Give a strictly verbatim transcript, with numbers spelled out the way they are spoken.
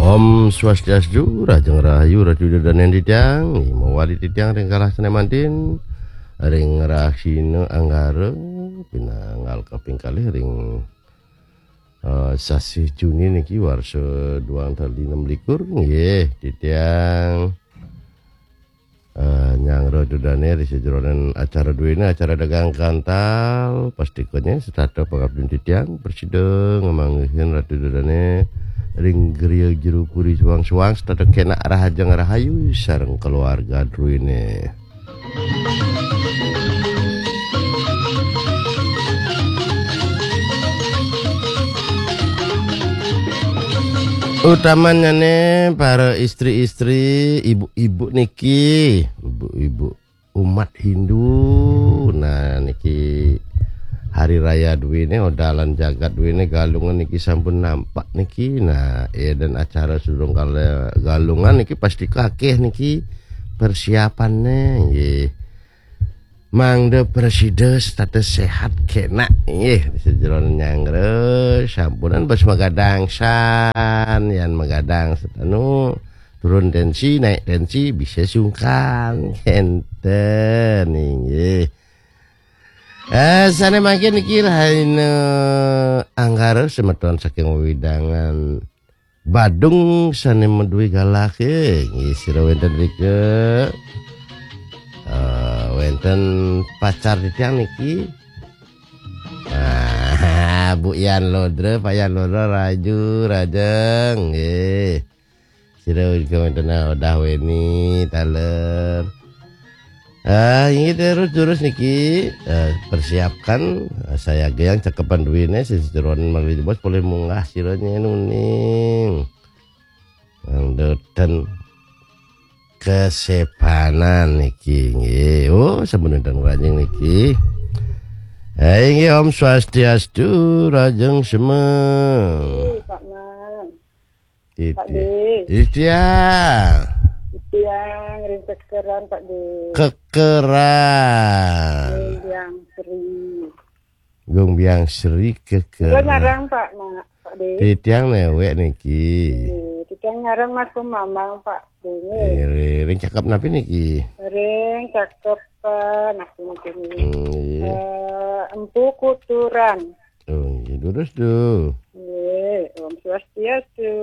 Om Swastiastu, Rajeng Rahayu, Ratu Dadan titiang, mawali titiang ring galah sané manten, ring rahina Anggara, pinanggal kaping kalih ring, eh, sasih Juni niki warsa duang tali enam likur, nggih, titiang, eh, nyanggra Ratu Dané ring sajeroning acara duéné, acara dagang kantal, pastikanya setata pangabdin titiang, prasida ngamanggihin Ratu Dané ring griya jero puri suang-suang, setata kénak rahajeng rahayu sareng keluarga druéné. Utamanyané para istri-istri, ibu-ibu niki, ibu-ibu umat Hindu. Nah, niki hari raya duéné, odalan jagat duéné, Galungan niki sampun nampak niki. Nah, édan acara sedurung kala Galungan niki pasti kakéh niki persiapané, nggih. Mangda prasida setata séhat kénak, nggih, sajeroning nyanggra, sampunan bes magadang san, yan magadang setanu, turun tensi, naik tensi, bisa sungkan, kénten, nggih. Eh, sané mangkin niki rahina Anggara semeton saking wewidangan Badung sané madué galah, eh, nggih, sira wénten rika. Eh, wénten pacar titiang niki. Ah, Bu Yan Lodra, Pak Yan Lodra, Raju, Rajeng, nggih. Sira ugi wénten Odah Weni, taler. Ah, inggih terus, terus niki, eh, persiapkan, eh, saya gayang cakepan duwene, sisi jeroan malih jebos polih munggah sira nyen uning. Nang deten kesepanan niki, nggih. Oh, sampun wénten Rajeng niki. Eh, inggih, Om Swastiastu, Rajeng Semeng. Pak Man. Pak Titi. Dé. Titiang. Titiang ring Kekeran, Pak Dé. Kekeran. Gung Biang Sri. Gung Biang Sri Kekeran. Kula nyarang, Pak, Mak, Pak Dé. Titiang newek niki. Nggih, titiang nyarang Mas Mamang, Pak Dé. Nggih. Eh, ring cakep napi niki? Ring cakep, eh, napi niki? Hmm, iya. Eh, Empu Kuturan. Oh, nggih, durus, Du. Nggih, Om Swastiastu.